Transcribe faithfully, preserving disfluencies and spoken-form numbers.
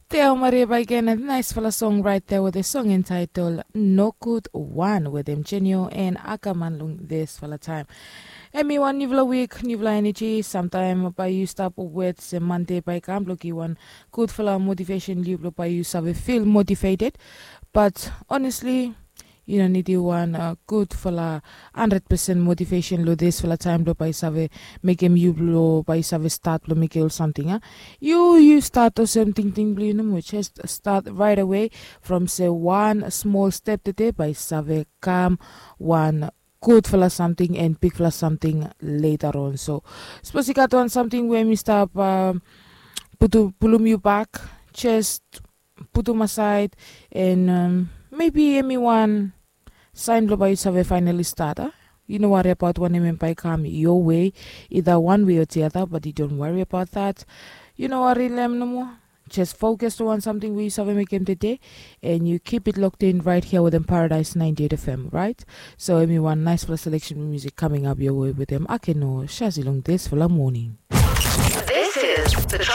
Teo Maria Baigena, naisfala song right there with a song entitled No Good One with them Genio and Ackerman long this fala time. Emi wan nivla week, nivla energy, sometime by you stop with se Monday by kam bloki one good fala motivation you blow by you save feel motivated. But honestly, you don't need you one uh, good fala hundred percent motivation lo this fala time blow by save mekem yu blo bai save stat blo mekem ol samting a yu yu stat olsem tingting blo yu nomo just stat right away from se wan small step tede bai save kam wan gudfala samting and bigfala samting later on. So sapos i gat wan samting we mi stap uh, putu pulum yu bak, just putum aside and um, maybe emi wan sign blo bai yu save finally start a. You no worry about wanem em bai kam your way, either one way or the other, but you don't worry about that. You no worry lem no more. Just focus on something we you save make him today, and you keep it locked in right here with them Paradise ninety-eight F M, right? So emi wan nice fala selection music coming up your way with them Akeno Shazi long this fala morning. This is the